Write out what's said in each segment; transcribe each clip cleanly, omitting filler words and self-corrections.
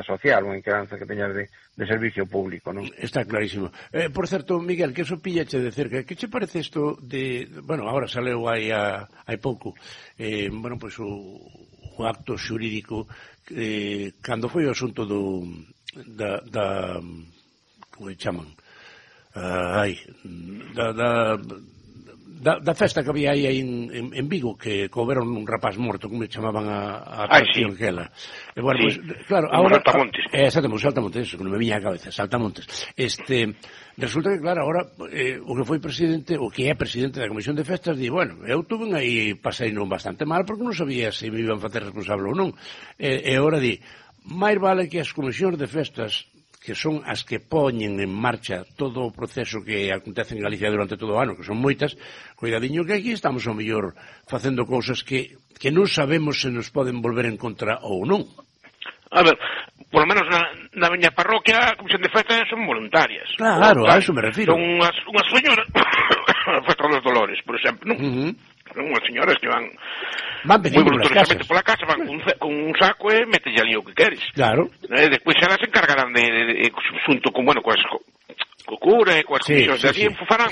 social, unha inquedanza que teñas de servicio público, non? Está clarísimo. Por certo, Miguel, que eso pillache de cerca, que che parece isto de... Bueno, agora saleu hai pouco, bueno, pois o acto xurídico, cando foi o asunto da como se chaman? Da festa que había aí en Vigo, que couberon un rapaz morto, como chamaban a atracción aquela. E, bueno, sí. Pues, claro, ahora... Saltamontes. Exactamente, Saltamontes, eso, que non me viña a cabeza, Saltamontes. Resulta que, claro, agora, o que foi presidente, o que é presidente da Comisión de Festas, di, bueno, eu tuve aí, pasei non bastante mal, porque non sabía se me iban facer responsable ou non. E agora di, máis vale que as comisións de festas, que son as que poñen en marcha todo o proceso que acontece en Galicia durante todo o ano, que son moitas, cuidadiño que aquí estamos ao mellor facendo cousas que non sabemos se nos poden volver en contra ou non. A ver, por lo menos na miña parroquia a comisión de festas son voluntarias. Claro, a eso me refiro. Son unhas señoras, a festa dos Dolores, por exemplo, non? Son unhas señoras que van moi voluntariamente pola casa, van con un saco e metelle ali o que queres. Claro. Despois elas se encargarán de xunto con, bueno, co cura e coas comisións de allí, farán,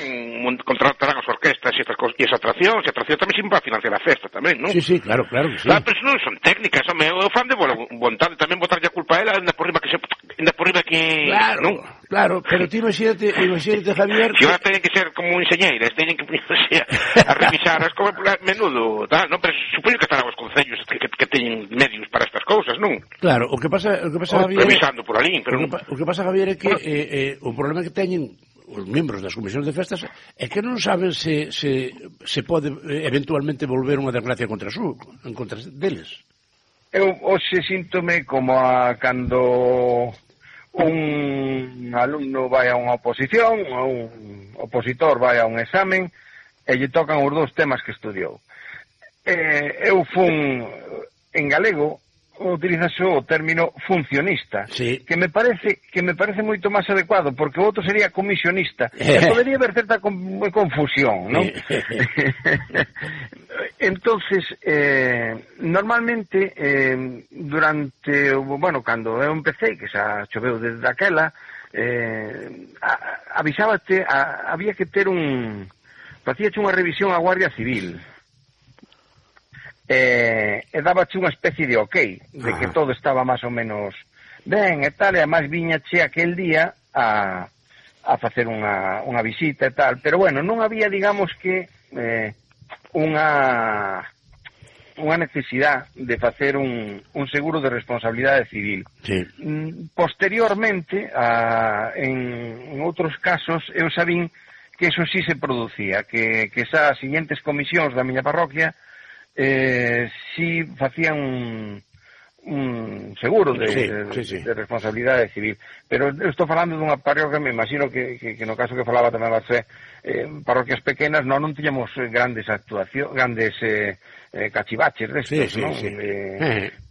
contratarán as orquestas e as atraccións, e a atracción tamén sempre va a financiar a festa tamén, non? Sí, claro que sí. Claro, pero non son técnicas, home, o fan de boa vontade, tamén botarlle a culpa a ela, ainda por riba que... Claro, pero ti imagínate, Javier... Que ahora teñen que ser como enxeñeiras, teñen que ponerse a revisar as cousas menudo, tal, non? Pero supoño que estarán os concellos que teñen medios para estas cousas, non? Claro, o que pasa, Javier... Revisando por ali, pero... O que pasa, Javier, é que o problema que teñen os membros das comisións de festas é que non saben se pode eventualmente volver unha desgracia en contra deles. Eu hoxe síntome como cando un alumno vai a unha oposición ou un opositor vai a un examen e lle tocan os dous temas que estudiou. Eu fun en galego utilizase o término funcionista, que me parece moito máis adecuado, porque o outro sería comisionista, e podería haber certa confusión, non? Entonces, normalmente, durante, bueno, cando eu empecé, que xa choveu desde aquela, avisábate, había que ter facíache unha revisión á Guardia Civil, e dábache unha especie de ok, de que todo estaba máis ou menos ben e tal, e además viñache aquel día a facer unha visita e tal, pero bueno, non había, digamos que unha necesidade de facer un seguro de responsabilidade civil. Posteriormente, en outros casos, eu sabín que eso sí se producía, que esas siguientes comisións da miña parroquia si facían un seguro de responsabilidade civil, pero eu estou falando dunha parroquia, me imagino que no caso que falaba tamén Marcé, parroquias pequenas non tiñamos grandes cachivaches destos, non?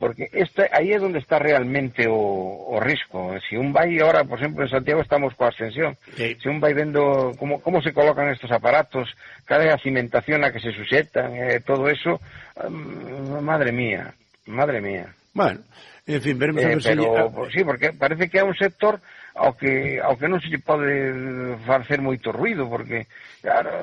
Porque aí é onde está realmente o risco. Se un vai ahora, por exemplo, en Santiago estamos coa ascensión, se un vai vendo como se colocan estos aparatos, cada cimentación a que se suxetan, todo eso, madre mía. Bueno, en fin, veremos a ver se... Sí, porque parece que é un sector ao que non se lle pode facer moito ruido, porque, claro,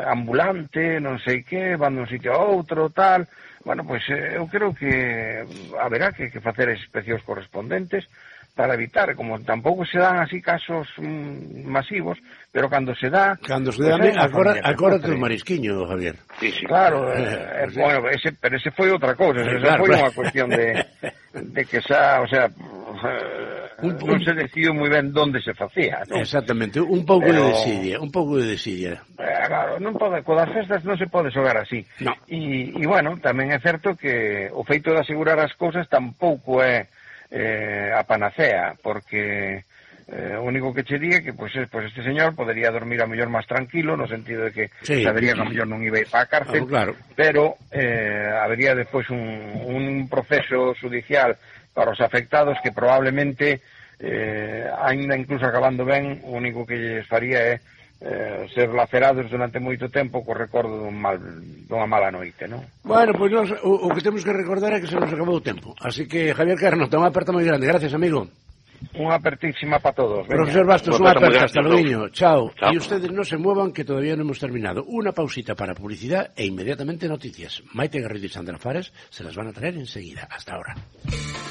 ambulante, non sei que, van dun sitio a outro, tal... Bueno, pois eu creo que haberá que facer inspeccións correspondentes para evitar, como tampouco se dan así casos masivos, pero cando se dá... Agora ten marisquiño, Javier. Sí, claro, bueno, pero ese foi outra cousa, foi unha cuestión de que xa, o sea, non se decidiu moi ben onde se facía, non? Exactamente, un pouco de desidia. Claro, non pode, coas festas non se pode xogar así. E, bueno, tamén é certo que o feito de asegurar as cousas tampouco é a panacea, porque o único que che diga que pues este señor podería dormir a mellor máis tranquilo, no sentido de que sabería que a mellor non iba a ir para a cárcel, pero habería despois un proceso judicial para os afectados que probablemente, aínda incluso acabando ben, o único que lles faría é ser lacerados durante moito tempo co recordo dunha mala noite, non? Bueno, pois nós o que temos que recordar é que se nos acabou o tempo. Así que, Javier Carno, ten unha aperta moi grande. Gracias, amigo. Unha apertísima para todos. Profesor Bastos, unha aperta. Hasta luego. Chao. Y ustedes no se muevan, que todavía no hemos terminado. Una pausita para publicidad e inmediatamente noticias. Maite Garrido y Sandra Fares se las van a traer enseguida. Hasta ahora.